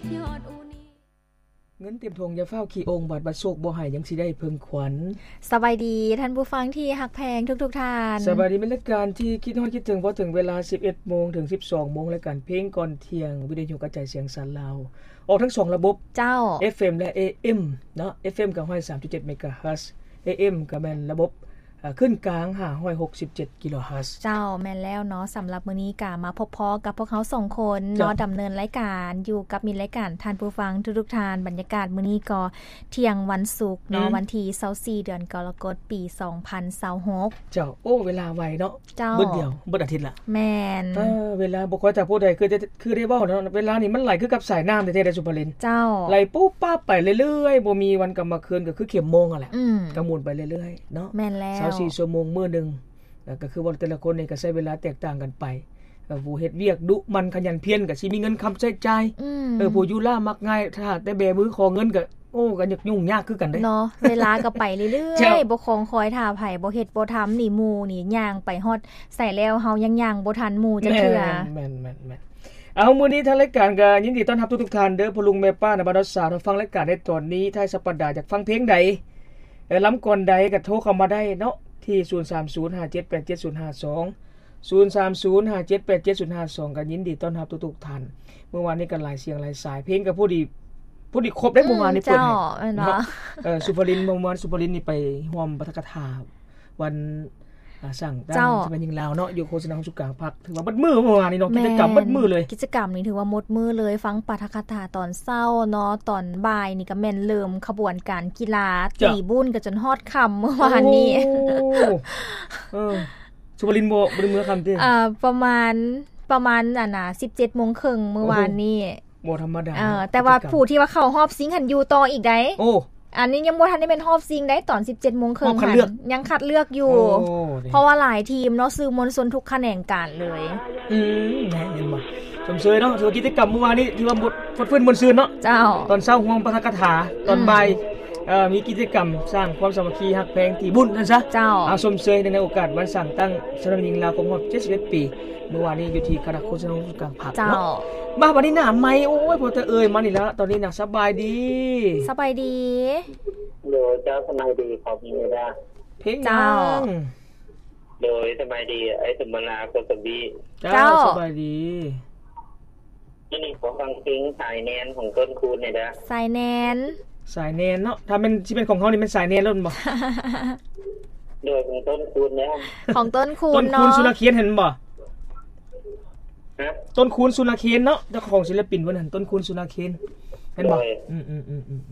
ເງິນເຕັມຖົງຢ່າຟ້າວຂີ້ອົ່ງ ບາດວ່າໂຊກບໍ່ໃຫ້ຍັງຊິໄດ້ເພິ່ງຂວັນ. ສະບາຍດີທ່ານຜູ້ຟັງທີ່ຮັກແພງທຸກໆທ່ານ. ສະບາຍດີ ແມ່ນລາຍການທີ່ຄິດຮອດຄິດເຖິງ ເວົ້າເຖິງເວລາສິບເອັດໂມງເຖິງສິບສອງໂມງ ລາຍການເພງກ່ອນທ່ຽງ ວິທະຍຸກະຈາຍສຽງສານລາວ ອອກທັງສອງລະບົບ ເຈົ້າ ເອັຟເອັມ ແລະ ເອເອັມ ເນາະ ເອັຟເອັມກໍຮ້ອຍສາມຈຸດເຈັດເມກາເຮີດ ເອເອັມກໍແມ່ນລະບົບ ເອີ ຂຶ້ນກາງຫ້າຮ້ອຍຫົກສິບເຈັດກິໂລເຮີດ. ເຈົ້າ ແມ່ນແລ້ວເນາະ ສຳລັບມື້ນີ້ກະມາພົບພໍ້ກັບພວກເຮົາສອງຄົນເນາະ ເຈົ້າ ດຳເນີນລາຍການຢູ່ກັບມິດລາຍການທ່ານຜູ້ຟັງທຸກໆທ່ານ. ບັນຍາກາດມື້ນີ້ກໍທ່ຽງວັນສຸກເນາະ ອືມ ວັນທີຊາວສີ່ ເດືອນກໍລະກົດ ປີສອງພັນຊາວຫົກ. ເຈົ້າ ໂອ້ ເວລາໄວເນາະ ເຈົ້າ ເບິດດຽວ ເບິດອາທິດລະ. ແມ່ນ ເອີ ເວລາບໍ່ຄ່ອຍ ຖ້າຜູ້ໃດຄື ຄືໄດ້ເວົ້າເນາະ ເວລານີ້ມັນໄຫຼຄືກັບສາຍນ້ຳແທ້ໆເດ້ ສຸພາລິນ. ເຈົ້າ ໄຫຼປຸບປັບໄປເລື້ອຍໆ ບໍ່ມີວັນກັບມາຄືນ ກໍຄືເຂັມໂມງຫັ້ນແຫຼະ. ອືມ ກໍໝູນໄປເລື້ອຍໆເນາະ. ແມ່ນແລ້ວ ຊາວສີ່ຊົ່ວໂມງມື້ໜຶ່ງ ແລ້ວກໍຄືວ່າແຕ່ລະຄົນນີ້ກໍໃຊ້ເວລາແຕກຕ່າງກັນໄປ. ເອີ ຜູ້ເຮັດວຽກດຸໝັ່ນຂະຫຍັນພຽນ ກໍຊິມີເງິນຄຳໃຊ້ຈ່າຍ. ອືມ ເອີ ຜູ້ຢູ່ລ້າມັກງ່າຍ ຖ້າແຕ່ແບມືຂໍເງິນກໍ ໂອ້ ກໍຍາກ ຫຍຸ້ງຍາກຄືກັນເດ້ເນາະ. ເວລາກໍໄປເລື້ອຍໆ ເຈົ້າ ບໍ່ຄອງຄອຍຖ້າໃຜ ບໍ່ເຮັດບໍ່ທຳນີ້ ໝູ່ນີ້ຍ່າງໄປຮອດໃສແລ້ວ ເຮົາຍັງຍ່າງບໍ່ທັນໝູ່ຈັກເທື່ອ. ແມ່ນໆໆໆ ເອົາ ມື້ນີ້ທາງລາຍການກໍຍິນດີຕ້ອນຮັບທຸກໆທ່ານເດີ ພໍ່ລຸງແມ່ປ້າ ນະບ່າວສາວ ທີ່ຟັງລາຍການໃນຕອນນີ້ ທ້າຍສັບປະດາຢາກຟັງເພງໃດ ເອີ ລຳກ່ອນໃດກໍໂທເຂົ້າມາໄດ້ເນາະ ທີ່ ສູນສາມສູນຫ້າເຈັດແປດເຈັດສູນຫ້າສອງ ສູນສາມສູນຫ້າເຈັດແປດເຈັດສູນຫ້າສອງ ກໍຍິນດີຕ້ອນຮັບທຸກໆທ່ານ. ເມື່ອວານນີ້ກໍຫຼາຍສຽງຫຼາຍສາຍ ເພງກໍພໍດີ ພໍດີຄົບໄດ້ ອືມ ເມື່ອວານນີ້ເປີດໃຫ້ ເຈົ້າ ແມ່ນບໍ່ ເນາະ. ເອີ ສຸພາລິນ ເມື່ອວານສຸພາລິນນີ້ໄປຮ່ວມປາຖະກະຖາວັນ ອາ ສ້າງຕັ້ງ ເຈົ້າ ສະໄໝຍິງລາວເນາະ ຢູ່ໂຄສະນາຫ້ອງສູນກາງພັກ ຖືວ່າເບິດມື້ເມື່ອວານນີ້ເນາະ. ແມ່ນ ກິດຈະກຳເບິດມື້ເລີຍ ກິດຈະກຳນີ້ຖືວ່າໝົດມື້ເລີຍ ຟັງປາຖະກະຖາຕອນເຊົ້າເນາະ ຕອນບ່າຍນີ້ກໍແມ່ນເລີ່ມຂະບວນການກິລາ ເຈົ້າ ຕີບຸນກໍຈົນຮອດຄ່ຳເມື່ອວານນີ້. ໂອ້ ເອີ ສຸພາລິນບໍ່ ບໍ່ໄດ້ເມືອຄ່ຳຕິ? ເອີ ປະມານ ປະມານ ອັນນ່າ ສິບເຈັດໂມງເຄິ່ງເມື່ອວານນີ້. ໂອ້ໂຫ ບໍ່ທຳມະດາ ເອີ ເນາະ ແຕ່ວ່າຜູ້ທີ່ວ່າເຂົ້າຮອບຊິງຫັ້ນຢູ່ຕໍ່ອີກໃດ໋. ໂອ້ ອັນນີ້ຍັງບໍ່ທັນໄດ້ແມ່ນຮອບຊິງໃດ໋ ຕອນສິບເຈັດໂມງເຄິ່ງຫັ້ນ ຮອບຄັດເລືອກຢູ່ ຍັງຄັດເລືອກຢູ່. ໂອ້ ເພາະວ່າຫຼາຍທີມເນາະ ສື່ມວນຊົນທຸກຂະແໜງການເລີຍ. ອືມ ແມ່ນ ເຫັນບໍ່ ຊົມເຊີຍເນາະ ຖືວ່າກິດຈະກຳມື້ວານນີ້ຖືວ່າໝົດ ຟົດຟື້ນມ່ວນຊື່ນເນາະ. ເຈົ້າ ຕອນເຊົ້າຮ່ວມປາຖະກະຖາ ຕອນ ອືມ ບ່າຍ ເອີ ມີກິດຈະກຳສ້າງຄວາມສາມັກຄີຮັກແພງ ຕີບຸນຊັ້ນຊະ. ເຈົ້າ ອາ ຊົມເຊີຍໃນໂອກາດວັນສ້າງຕັ້ງສະໄໝຍິງລາວຄົບຮອບເຈັດສິບເອັດປີ ມື້ວານນີ້ຢູ່ທີ່ຄະນະໂຄສະນາຫ້ອງສູນກາງພັກເນາະ. ເຈົ້າ ມາບັດນີ້ໜ້າໃໝ່ ໂອ້ຍ ພໍແຕ່ເອີ່ຍມານີ້ລະ ຕອນນີ້ນະ ສະບາຍດີ ສະບາຍດີ. ໂດຍ ເຈົ້າ ສະບາຍດີ ຂອບໃຈເດີ. ເພງຫຍັງ? ເຈົ້າ ໂດຍ ສະບາຍດີ ອ້າຍສົມບັນລາ ໂຄສະບີ. ເຈົ້າ ເຈົ້າ ສະບາຍດີ. ມື້ນີ້ຂໍຟັງເພງສາຍແນນຂອງຕົ້ນຄູນແດ່ເດີ. ສາຍແນນ ສາຍແນນເນາະ ຖ້າແມ່ນ ຊິແມ່ນຂອງເຮົານີ້ແມ່ນສາຍແນນໂລດບໍ່? ໂດຍ ຂອງຕົ້ນຄູນເດີ ຂອງຕົ້ນຄູນເນາະ ຕົ້ນຄູນສຸລະເຄນ ເຫັນບໍ່? ຮະ? ຕົ້ນຄູນສຸລະເຄນເນາະ ເຈົ້າຂອງສິລະປິນເພິ່ນຫັ້ນ ຕົ້ນຄູນສຸລະເຄນ ເຫັນບໍ່? ໂດຍ ອືມໆ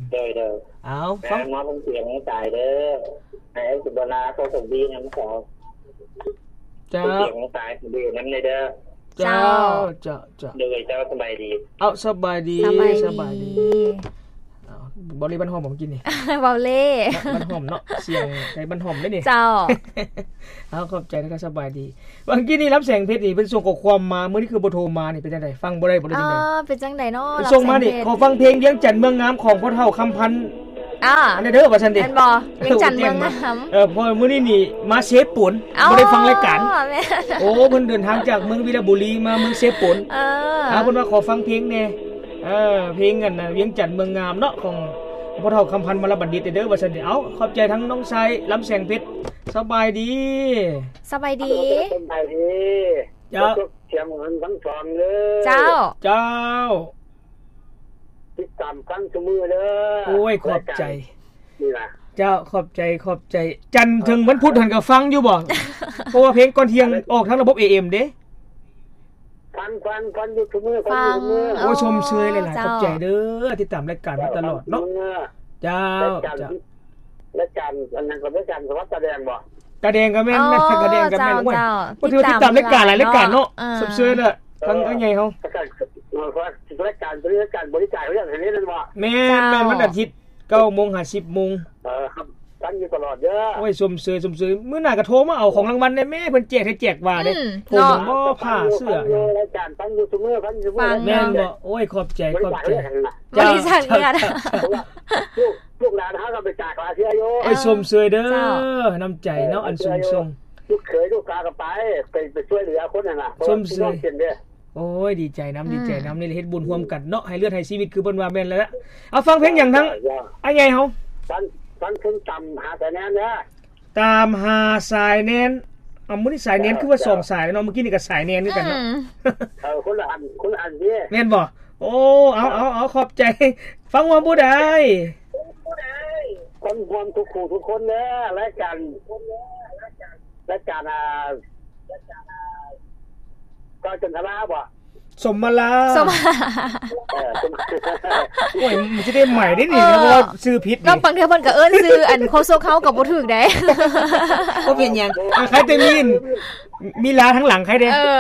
ໆໆ ໂດຍໆ ເອົາ ມາຟັງ ມາຟັງສຽງສາຍເດີ ໃຫ້ອ້າຍສຸມບັນລາ ເຂົາສົມດີນຳເຂົາ. ເຈົ້າ ສຽງສາຍດີນຳແດ່ເດີ. ເຈົ້າ ເຈົ້າ ເຈົ້າ ເຈົ້າ ໂດຍ ເຈົ້າ ສະບາຍດີ. ເອົາ ສະບາຍດີ ສະບາຍດີ ສະບາຍດີ. ເອົາ ເບົາເລ່ບ້ານຫອມບໍ່ ມື້ກີ້ນີ້? ເບົາເລ່ ບ້ານຫອມເນາະ ສຽງໄທບ້ານຫອມເດ້ນີ້. ເຈົ້າ ເອົາ ຂອບໃຈນະ ສະບາຍດີ. ມື້ກີ້ນີ້ ລຳແສງເພັດນີ້ ເພິ່ນສົ່ງຂໍ້ຄວາມມາ ມື້ນີ້ຄືບໍ່ໂທມານີ້ ເປັນຈັ່ງໃດ? ຟັງບໍ່ໄດ້ບໍ່ ຫຼືຈັ່ງໃດ? ເອີ ເປັນຈັ່ງໃດເນາະ? ເພິ່ນສົ່ງມານີ້ ຂໍຟັງເພງວຽງຈັນເມືອງງາມ ຂອງພໍ່ເຖົ້າຄຳພັນ ອ່າ ອັນນີ້ເດີ ວ່າຊັ້ນເດ ແມ່ນບໍ່? ວຽງຈັນເມືອງງາມ. ເອີ ເພາະມື້ນີ້ນີ້ມາເຊໂປນ ເອົ້າ ບໍ່ໄດ້ຟັງລາຍການ. ແມ່ນ ໂອ້ ເພິ່ນເດີນທາງຈາກເມືອງວິລະບູລີມາເມືອງເຊໂປນ. ເອີ ອ່າ ເພິ່ນວ່າຂໍຟັງເພງແດ່ ເອີ ເພງອັນ ວຽງຈັນເມືອງງາມເນາະ ຂອງພໍ່ເຖົ້າຄຳພັນມະລະບັນດິດເດີ ວ່າຊັ້ນເດ. ເອົາ ຂອບໃຈທັງນ້ອງຊາຍລຳແສງເພັດ. ສະບາຍດີ ສະບາຍດີ ສະບາຍດີ. ເຈົ້າ ສຽງເພິ່ນທັງສອງເດີ. ເຈົ້າ ເຈົ້າ ຕິດຕາມຟັງຊຸມື້ເດີ. ໂອ້ຍ ຂອບໃຈ ລາຍການນີ້ນະ. ເຈົ້າ ຂອບໃຈ ຂອບໃຈ. ຈັນເຖິງວັນພຸດຫັ້ນກໍຟັງຢູ່ບໍ່? ເອີ ເພາະວ່າເພງກ່ອນທ່ຽງອອກທາງລະບົບເອເອັມເດ້. ຟັງ ຟັງ ຟັງຢູ່ຊຸມື້ ຟັງຢູ່ຊຸມື້. ໂອ້ຍ ຊົມເຊີຍຫຼາຍໆ ເຈົ້າ ຂອບໃຈເດີ ຕິດຕາມລາຍການມາຕະຫຼອດເນາະ. ເຈົ້າ ລາຍການ ເຈົ້າ ລາຍການອັນນັ້ນກໍລາຍການສະຫວັດຕາແດງບໍ່? ຕາແດງກໍແມ່ນ ອໍ ແມ່ນ ຕາແດງກໍແມ່ນ. ເຈົ້າ ໂອ້ຍ ເຈົ້າ ບໍ່ຖືວ່າຕິດຕາມລາຍການຫຼາຍລາຍການເນາະ. ເອີ ຊົມເຊີຍເດີ ເອີ ທາງອ້າຍໃຫຍ່ເຮົາ ລາຍການ ລາຍການບໍລິຈາກເລື່ອງອັນນີ້ແມ່ນບໍ່? ແມ່ນ ເຈົ້າ ແມ່ນ ວັນອາທິດ ເກົ້າໂມງຫາສິບໂມງ. ເອີ ຟັງຢູ່ຕະຫຼອດເດີ. ໂອ້ຍ ຊົມເຊີຍ ຊົມເຊີຍ. ມື້ໜ້າກໍໂທມາເອົາຂອງລາງວັນແດ່ແມ່ ເພິ່ນແຈກໃຫ້ແຈກວ່າເດ້. ອືມ ໂທມາບໍ່ ຜ້າເສື້ອ ລາຍການຟັງຢູ່ຊຸມື້ ຟັງຢູ່ຊຸມື້. ຟັງ ແມ່ນບໍ່? ໂອ້ຍ ຂອບໃຈ ຂອບໃຈ. ເຈົ້າ ເຈົ້າ ເຈົ້າ ລູກ ລູກຫຼານເຮົາກໍໄປຈາກຫຼາຍເທື່ອຢູ່. ໂອ້ຍ ຊົມເຊີຍເດີ ເຈົ້າ ນ້ຳໃຈເນາະ ອັນສູງສົ່ງ. ລູກເຂີຍລູກສາວກໍໄປ ໄປ ໄປຊ່ວຍເຫຼືອຄົນຫັ້ນນະ. ຊົມເຊີຍ ເພາະວ່າພີ່ນ້ອງເປັນເດ້. ໂອ້ຍ ດີໃຈນຳ ອືມ ດີໃຈນຳ ນີ້ແຫຼະເຮັດບຸນຮ່ວມກັນເນາະ ໃຫ້ເລືອດໃຫ້ຊີວິດ ຄືເພິ່ນວ່າແມ່ນແລ້ວລະ. ເອົາ ຟັງເພງຫຍັງທາງ ເຈົ້າ ເຈົ້າ ອ້າຍໃຫຍ່ເຮົາ? ຟັງ ຟັງເພງຕາມຫາສາຍແນນເດີ. ຕາມຫາສາຍແນນ. ເອົາ ມື້ນີ້ສາຍແນນຄືວ່າສອງສາຍເນາະ ເມື່ອກີ້ນີ້ກໍສາຍແນນຄືກັນເນາະ. ອືມ ເອີ ຄົນລະອັນ ຄົນລະອັນເດ້ ແມ່ນບໍ່? ໂອ້ ເອົາ ເອົາ ເອົາ ຂອບໃຈ. ຟັງວ່າຜູ້ໃດ? ຄົນຮ່ວມທຸກຜູ້ທຸກຄົນເດີ ລາຍການ ລາຍການ ອ່າ ເຈົ້າຈັນທະລາບໍ່? ສົມມາລາ ສົມມາລາ ເອີ ສົມ ໂອ້ຍ ມັນຊິໄດ້ໃໝ່ໄດ້ນີ້ ເອີ ເພາະວ່າຊື່ຜິດນີ້ ບາງເທື່ອເພິ່ນກໍເອີ້ນຊື່ອັນໂຄສົກເຮົາກໍບໍ່ຖືກໃດ໋. ບໍ່ເປັນຫຍັງ ອ່າ ໃຄແຕ່ມີ ມີລາທາງຫຼັງໃຄເດ້ ເອີ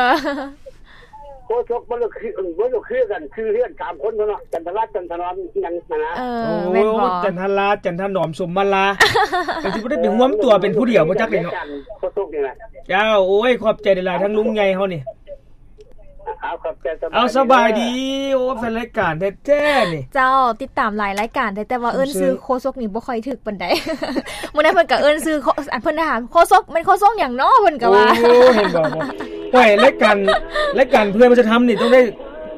ໂຄສົກບໍ່ໄດ້ຄື ບໍ່ໄດ້ຄືກັນ ຊື່ເຮືອນສາມຄົນເນາະ ຈັນທະລາ ຈັນທະນອມ ຫຍັງຫັ້ນນະ. ເອີ ໂອ້ ແມ່ນບໍ່? ຈັນທະລາ ຈັນທະນອມ ສົມມາລາ ກໍຊິບໍ່ໄດ້ໄປຮວມຕົວເປັນຜູ້ດຽວບໍ່ຈັກເດ້ເນາະ ໂຄສົກນີ້ນະ. ເຈົ້າ ໂອ້ຍ ຂອບໃຈຫຼາຍໆ ທາງລຸງໃຫຍ່ເຮົານີ້. ເອົາ ຂອບໃຈ ສະບາຍດີ ເອົາ ສະບາຍດີ. ໂອ້ ແຟນລາຍການແທ້ໆນີ້ ເຈົ້າ ຕິດຕາມຫຼາຍລາຍການແທ້ ແຕ່ວ່າເອີ້ນຊື່ໂຄສົກນີ້ບໍ່ຄ່ອຍຖືກປານໃດ. ມື້ນັ້ນເພິ່ນກໍເອີ້ນຊື່ ເພິ່ນຖາມ ໂຄສົກ ແມ່ນໂຄສົກຫຍັງເນາະ ເພິ່ນກໍວ່າ. ໂອ້ ເຫັນບໍ່ ໂອ້ຍ ລາຍການ ລາຍການເພື່ອນມັນຈະທຳນີ້ຕ້ອງໄດ້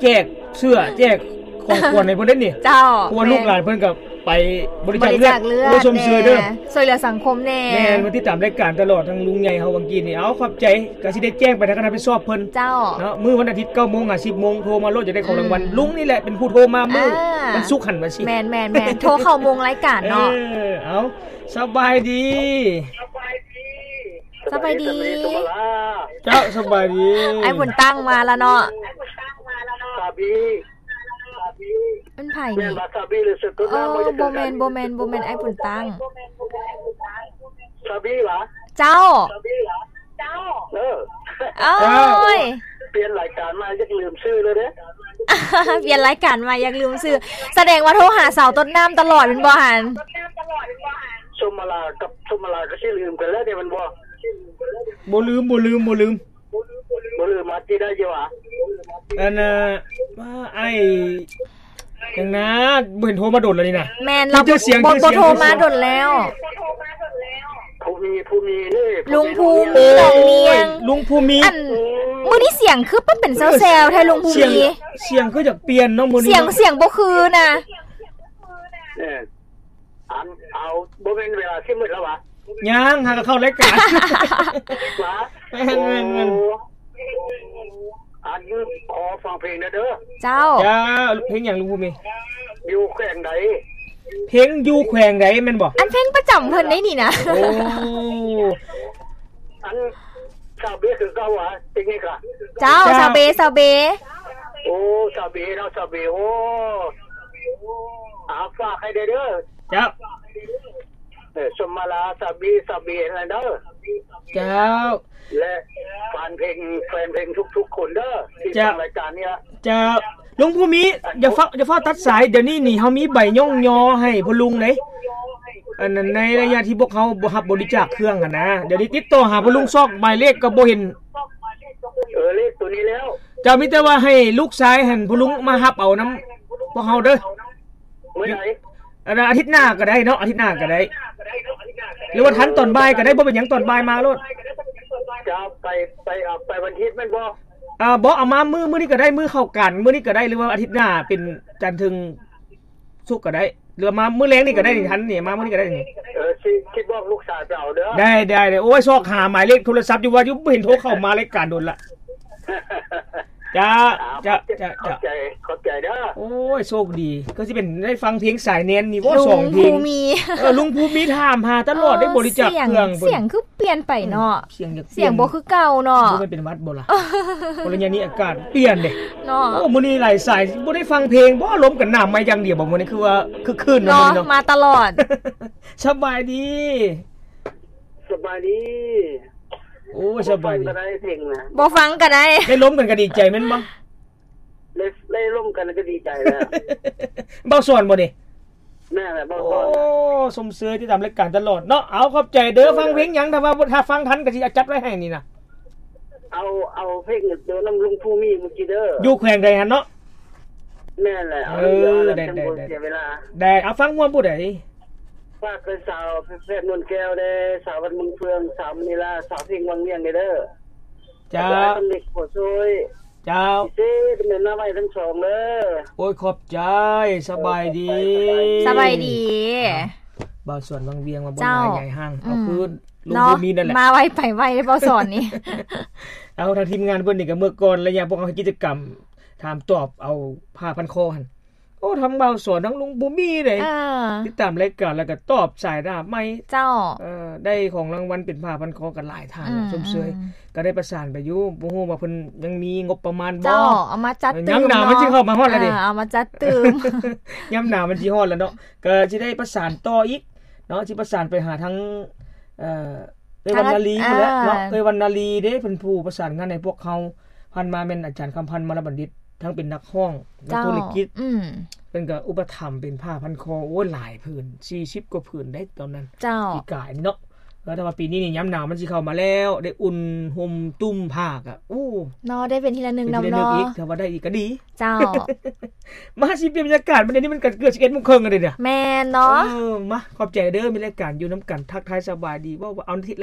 ແຈກເສື້ອ ແຈກ ຂອງຂວັນໃຫ້ເພິ່ນເດ້ນີ້. ເຈົ້າ ເພາະວ່າ ແມ່ນ ລູກຫຼານເພິ່ນກໍໄປບໍລິຈາກເລືອດ ບໍລິຈາກເລືອດ ໂອ້ຍ ຊົມເຊີຍເດີ ແດ່ ຊ່ວຍເຫຼືອສັງຄົມແດ່. ແມ່ນ ມາຕິດຕາມລາຍການຕະຫຼອດ ທາງລຸງໃຫຍ່ເຮົາຫວ່າງກີ້ນີ້. ເອົາ ຂອບໃຈ ກໍຊິໄດ້ແຈ້ງໄປທາງຄະນະຮັບຜິດຊອບເພິ່ນ. ເຈົ້າ ເນາະ ມື້ວັນອາທິດ ເກົ້າໂມງຫາ ສິບໂມງ ໂທມາໂລດ ຢາກໄດ້ຂອງລາງວັນ. ອືມ ລຸງນີ້ແຫຼະເປັນຜູ້ໂທມາມື້ ອ່າ ວັນສຸກຫັ້ນວ່າຊິ. ແມ່ນໆໆ ໂທເຂົ້າໂມງລາຍການເນາະ. ເອີ ເອົາ ສະບາຍດີ ສະບາຍດີ ສະບາຍດີ ສະບາຍດີ ສົມມາລາ. ເຈົ້າ ສະບາຍດີ ອ້າຍບຸນຕັ້ງມາລະເນາະ. ສາບີ ມັນໃຜນີ້? ແມ່ນວາຊາບີ ຫຼື ເສືອຕົ້ນນ້ຳ ບໍ່ແມ່ນ ບໍ່ແມ່ນ ບໍ່ແມ່ນ ອ້າຍບຸນຕັ້ງ. ຊາບີຫວາ? ເຈົ້າ ເອີ ໂອ້ຍ ປ່ຽນລາຍການມາຢາກລືມຊື່ເລີຍເດ້. ປ່ຽນລາຍການມາຢາກລືມຊື່ ສະແດງວ່າໂທຫາສາວຕົ້ນນ້ຳຕະຫຼອດແມ່ນບໍ່ຫັ້ນ? ສົມມາລາກັບສົມມາລາກໍຊິລືມກັນແລ້ວເດ້ແມ່ນບໍ່? ບໍ່ລືມ ບໍ່ລືມ ບໍ່ລືມ. ບໍ່ລືມ ມາຕິດໄດ້ຢູ່ຫວາ? ອັນນ່າ ວ່າອ້າຍຫຍັງນະ ບໍ່ເຫັນໂທມາດົນແລ້ວນີ້ນະ. ແມ່ນ ມີແຕ່ສຽງ ບໍ່ ບໍ່ໂທມາດົນແລ້ວ. ພູມີ ພູມີເດ້ ລຸງພູມີ ນ້ອງນຽງ ລຸງພູມີ. ອັນ ມື້ນີ້ສຽງຄືເປັນແຊວໆແທ້ລຸງພູມີ. ສຽງ ສຽງຄືຢາກປ່ຽນເນາະມື້ນີ້ ສຽງ ເນາະ ສຽງບໍ່ຄືນະ. ເອີ ອັນ ເອົາ ບໍ່ແມ່ນເວລາຊິໝົດແລ້ວຫວາ? ຍັງ ຫາກໍເຂົ້າລາຍການ. ຫວາ? ແມ່ນໆໆ. ໂອ້ ອັນ ຂໍຟັງເພງແດ່ເດີ. ເຈົ້າ ເຈົ້າ ເພງຫຍັງລຸງພູມີ? ຢູ່ແຂວງໃດ? ເພງຢູ່ແຂວງໃດແມ່ນບໍ່? ອັນເພງປະຈຳເພິ່ນໄດ໋ນີ້ນະ. ໂອ້ ອັນ ຊາວເບຄືເກົ່າຫວາ? ເຕັກນິກລະ? ເຈົ້າ ເຈົ້າ ຊາວເບ ຊາວເບ. ໂອ້ ຊາວເບເນາະ ຊາວເບ. ໂອ້ ອາ ຝາກໃຫ້ແດ່ເດີ. ເຈົ້າ ເອີ ສົມມາລາ ຊາວເບ ຊາວເບຫັ້ນແຫຼະເດີ. ເຈົ້າ ແລະ ແຟນເພງ ແຟນເພງທຸກໆຄົນເດີ ທີ່ ເຈົ້າ ຟັງລາຍການນີ້ລະ. ເຈົ້າ ລຸງພູມີ ຢ່າຟ້າວ ຢ່າຟ້າວຕັດສາຍ ດຽວນີ້ນີ້ເຮົາມີໃບຍ້ອງຍໍໃຫ້ພໍ່ລຸງເດ້. ອັນນັ້ນ ໃນໄລຍະທີ່ພວກເຮົາບໍ່ຮັບບໍລິຈາກເຄື່ອງຫັ້ນນະ ດຽວນີ້ຕິດຕໍ່ຫາພໍ່ລຸງຊອກໝາຍເລກກໍບໍ່ເຫັນ. ເອີ ເລກໂຕນີ້ແລ້ວ. ເຈົ້າ ມີແຕ່ວ່າໃຫ້ລູກຊາຍຫັ້ນ ພໍ່ລຸງມາຮັບເອົານຳພວກເຮົາເດີ. ມື້ໃດ? ອັນ ອາທິດໜ້າກໍໄດ້ເນາະ ອາທິດໜ້າກໍໄດ້ ຫຼືວ່າທັນຕອນບ່າຍກໍໄດ້ ບໍ່ເປັນຫຍັງ ຕອນບ່າຍມາໂລດ. ຈະໄປ ໄປ ເອົາໄປວັນທິດແມ່ນບໍ່? ເອີ ບໍ່ ເອົາມາມື້ ມື້ນີ້ກໍໄດ້ ມື້ເຂົ້າການມື້ນີ້ກໍໄດ້ ຫຼືວ່າອາທິດໜ້າເປັນຈັນເຖິງສຸກກໍໄດ້ ຫຼືວ່າມາມື້ແລງນີ້ກໍໄດ້ນີ້ ທັນນີ້ ມາມື້ນີ້ກໍໄດ້ນີ້. ເອີ ຊິ ຊິບອກລູກຊາຍໄປເອົາເດີ. ໄດ້ ໄດ້ ໄດ້. ໂອ້ຍ ຊອກຫາໝາຍເລກໂທລະສັບຢູ່ວ່າຢູ່ ບໍ່ເຫັນໂທເຂົ້າມາລາຍການດົນລະ. ເຈົ້າ ເຈົ້າ ເຈົ້າ ເຈົ້າ ຂອບໃຈ ຂອບໃຈເດີ. ໂອ້ຍ ໂຊກດີ ຄືຊິເປັນໄດ້ຟັງເພງສາຍແນນນີ້ບໍ່ ສອງເພງ. ເອີ ລຸງພູມີຖາມຫາຕະຫຼອດ ໄດ້ບໍລິຈາກເຄື່ອງເພິ່ນ. ສຽງຄືປ່ຽນໄປເນາະ ສຽງຢາກ ສຽງບໍ່ຄືເກົ່າເນາະ. ບໍ່ແມ່ນເປັນຫວັດບໍ່ລະ? ບໍ່ໄດ້ ຍາມນີ້ອາກາດປ່ຽນເດ້ເນາະ. ໂອ້ ມື້ນີ້ຫຼາຍສາຍ ບໍ່ໄດ້ຟັງເພງບໍ່? ລົມກັນໜາວໃໝ່ຢ່າງດຽວບໍ່? ມື້ນີ້ຄືວ່າຄຶກຄື້ນເນາະ ເນາະ ມື້ນີ້ເນາະ. ມາຕະຫຼອດ. ສະບາຍດີ ສະບາຍດີ. ໂອ້ຍ ສະບາຍດີ. ບໍ່ຟັງກໍໄດ້ເພງນະ ບໍ່ຟັງກໍໄດ້. ໄດ້ລົມກັນກໍດີໃຈແມ່ນບໍ່? ໄດ້ ໄດ້ລົມກັນກໍດີໃຈແລ້ວ. ເບົາສອນບໍ່ນີ້? ແມ່ນແຫຼະ ເບົາສອນ. ໂອ້ ຊົມເຊີຍຕິດຕາມລາຍການຕະຫຼອດເນາະ. ເອົາ ຂອບໃຈເດີ. ເອີ ຟັງເພງຫຍັງ? ຖ້າວ່າ ຖ້າຟັງທັນກໍຊິຈັດໄວ້ໃຫ້ນີ້ນະ. ເອົາ ເອົາເພງໂຕນຳລຸງພູມີເມື່ອກີ້ເດີ. ຢູ່ແຂວງໃດຫັ້ນເນາະ? ແມ່ນແຫຼະ. ເອີ ໄດ້ ໄດ້ ໄດ້ ເສຍເວລາ. ໄດ້. ເອົາ ຟັງຮ່ວມຜູ້ໃດ? ຝາກເປັນສາວແພດ ນວນແກ້ວແດ່, ສາວວັດເມືອງເຟືອງ, ສາວມະນີລາ, ສາວເພັງວັງວຽງແດ່ເດີ. ເຈົ້າ. ສາວເລັກ ໂພຊ່ວຍ. ເຈົ້າ ເຈົ້າ ເຈົ້າ ແມ່ນມາໄວທັງສອງເດີ. ໂອ້ຍ ຂອບໃຈ. ສະບາຍດີ. ສະບາຍດີ. ບ່າວສອນວັງວຽງວ່າບໍ່ ເຈົ້າ ຍາຍຫ່າງ ອືມ ເອົາຄືນ ເນາະ ລົງບໍ່ມີນັ້ນແຫຼະ ມາໄວໄປໄວເດ້ ບ່າວສອນນີ້. ເອົາ ທາງທີມງານເພິ່ນນີ້ກໍເມື່ອກ່ອນໄລຍະພວກເຮົາເຮັດກິດຈະກຳຖາມຕອບເອົາຜ້າພັນຄໍຫັ້ນ ໂອ້ ທັງບ່າວສອນທັງລຸງບໍ່ມີເດ້ ເອີ ຕິດຕາມລາຍການແລ້ວກໍຕອບສາຍໜ້າໄມ້ ເຈົ້າ ເອີ ໄດ້ຂອງລາງວັນເປັນຜ້າພັນຄໍກັນຫຼາຍທ່ານ ອືມ ຊົມເຊີຍ ອືມ ກໍໄດ້ປະສານໄປຢູ່ ບໍ່ຮູ້ວ່າເພິ່ນຍັງມີງົບປະມານບໍ່ ເຈົ້າ ເອົາມາຈັດ ເອີ ຕື່ມ ຍາມໜາວມັນຊິເຂົ້າມາຮອດແລ້ວເດ້ ເອີ ເອົາມາຈັດຕື່ມ ຍາມໜາວມັນຊິຮອດແລ້ວເນາະ ກໍຊິໄດ້ປະສານຕໍ່ອີກເນາະ ຊິປະສານໄປຫາທາງ ເອີ ເອື້ອຍວັນນາລີ ທາງ ພຸ້ນແຫຼະເນາະ ເອີ ເອື້ອຍວັນນາລີເດ້ ເພິ່ນຜູ້ປະສານງານໃຫ້ພວກເຮົາ ຜ່ານມາແມ່ນອາຈານຄຳພັນ ມະລະບັນດິດ ທັງເປັນນັກຮ້ອງ ເຈົ້າ ນັກທຸລະກິດ ອືມ ເພິ່ນກໍອຸປະຖຳເປັນຜ້າພັນຄໍ ໂອ້ຍ ຫຼາຍຜືນ ສີ່ສິບກວ່າຜືນໄດ໋ຕອນນັ້ນ ເຈົ້າ ປີກາຍນີ້ເນາະ ແຕ່ວ່າປີນີ້ນີ້ຍາມໜາວມັນຊິເຂົ້າມາແລ້ວ ໄດ້ອຸ່ນຫົ່ມຕຸ້ມຜ້າກະ ໂອ້ ເນາະ ໄດ້ເປັນທີລະໜຶ່ງນຳເນາະ ເປັນທີລະໜຶ່ງອີກ ຖ້າວ່າໄດ້ອີກກໍດີ ເຈົ້າ ມາຊິປ່ຽນບັນຍາກາດ ບັດນີ້ມັນກໍເກືອບສິບເອັດໂມງເຄິ່ງແລ້ວເດ້ ແມ່ນເນາະ ເອີ ມາ ຂອບໃຈເດີ ມີລາຍການຢູ່ນຳກັນ ທັກທາຍສະບາຍດີ ເວົ້າວ່າເອົາ